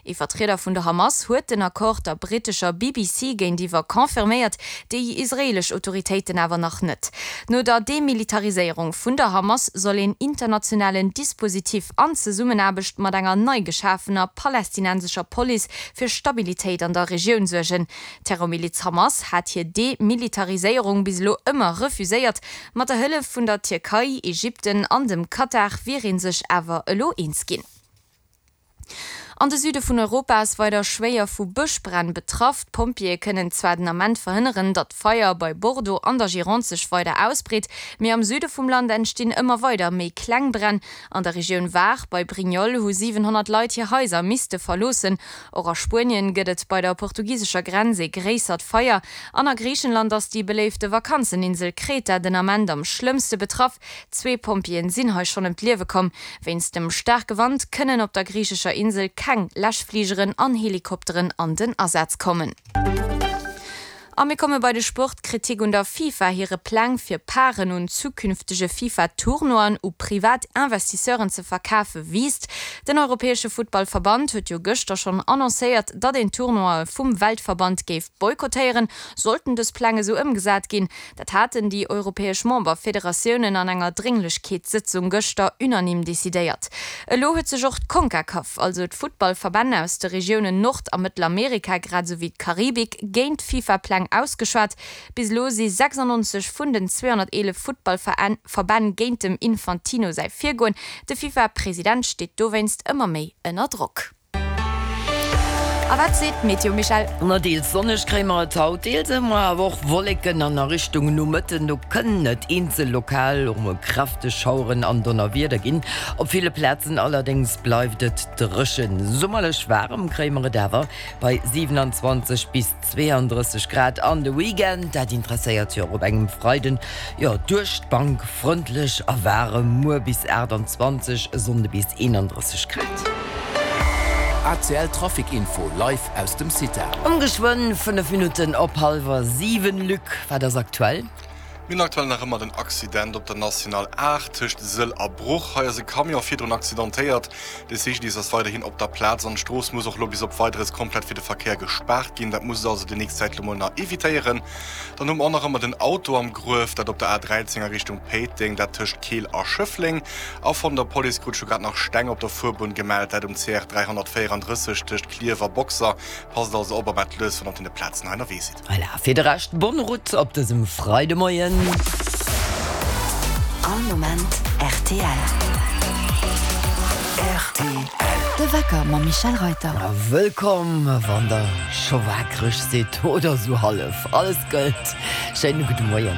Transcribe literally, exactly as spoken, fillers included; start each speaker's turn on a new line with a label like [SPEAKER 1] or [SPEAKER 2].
[SPEAKER 1] Ee Vertrieder vun der Hamas huet den Accord der brittescher B B C géintiwwer confirméiert, déi israeelesch Autoritéiten awer nach net. No der Demilitariséierung vun der Hamas soll een internationalen Dispositif an Zesummenaarbecht mat enger nei geschafener palästinensescher Police fir Stabilitéit an der Regioun suergen. D'Terrormiliz Hamas hat hir Demilitariséierung bis elo ëmmer refuséiert. Mat der Hëllef vun der Tierkei, Ägypten an dem Katar wier ee sech awer elo eens ginn. An de Süde vun Europa ass weider schwéier vu Bëschbränn betraff. D'Pompjeeë kënnen zwar den Ament verhënneren, datt d'Feier bei Bordeaux an der Gironde sech weider ausbreet, mee am Süde vum Land entstinn ëmmer weider méi kleng Bränn. An der Regioun Var bei Brignoles hu siwenhonnert Leit hir Haiser misste verloossen. Och a Spuenien gëtt et bei der portugisescher Grenz ee gréissert Feier. An a Griichenland ass déi beléifte Vakanzeninsel Kreta den Ament am schlëmmste betraff. Zwee Pompjeeën sinn hei schonn ëm d'Liewe komm. Wéinst dem staarke Wand kënnen op der griichescher Insel keng Läschfligeren an Helikopteren an den Asaz kommen. A mir komme bei de Sport. D'Kritik un der FIFA hire Pläng fir Parten un zukünftege FIFA-Tournoien u privat Investisseuren ze verkafe wiisst. Den europäesche Futtballverband huet jo gëschter schonn annoncéiert, datt een Tournoie vum Weltverband géif boykottéieren, sollten dës Pläng esou ëmgesat ginn. Dat haten déi europäesch Memberfederatiounen an enger Drénglechkeetssëtzung gëschter unanime decidéiert. Elo huet sech och d'Concacaf, also d'Futtballverbänn aus de Regiounen Nord a Mëttelamerika grad esou wéi d'Karibik, géint d'FIFA-Pläng ausgeschwat. Bis elo si sechsundneunzeg vun den zweehonnerteelef Futtballverbänn géint dem Infantino säi Virgoen. De FIFA-President steet dowéinst ëmmer méi ënner Drock. A wat seet d'Meteo, Michèle?
[SPEAKER 2] Ma deels sonneg kréie mer et haut, deels hu mer awer och Wolleken an a Richtung Nomëtten do kënnen et eenzel lokal och mol kräfteg Schaueren an Donnerwieder ginn. Op ville Plazen allerdéngs bleift et dréchen. Summerlech waarem kréie mer et awer bei siewenundzwanzeg bis zweeandrësseg Grad. An de Weekend, dat interesséiert jo och op engem Freiden, jo duerch d'Bank frëndlech a waarem, muer bis aachtanzwanzeg, e Sonnde bis eenandrësseg Grad.
[SPEAKER 3] A C L Trafic Info live aus dem CITA.
[SPEAKER 2] Um geschwënn fënnef Minutten op hallwer siwen. Luc, wat ass aktuell?
[SPEAKER 4] Mir hunn aktuell nach ëmmer den Accident op der National aacht tëscht Sëll a Bruch. Hei ass e Camion virdrun accidentéiert. De C G D I S ass weiderhin op der Plaz an d'Strooss muss och elo bis op Weideres komplett fir de Verkéier gespaart ginn. Dat musst der also déi nächst Zäit elo mol nach evitéieren. Dann hu mer och nach ëmmer den Auto am Gruef, dat op der A dräizéng a Richtung Péiteng, dat tëscht Keel a Schëffleng. A vun der Police krut ech elo grad nach Steng op der Fuerbunn gemellt, dat um C R dräihonnertvéierandrësseg tëscht Klierf a Boxer. Passt also op a maacht lues, wann der op deene Plazen hei ënnerwee sidd.
[SPEAKER 2] Voilà, fir de Rescht bonne route op dësem Freidemoien.
[SPEAKER 5] All Moment R T L.
[SPEAKER 3] R T L.
[SPEAKER 5] De Wecker mam Michel Reuter.
[SPEAKER 2] A wëllkomm, wann der scho waakreg sidd oder sou hallef. Alles gëllt. Schéine gudde Moien.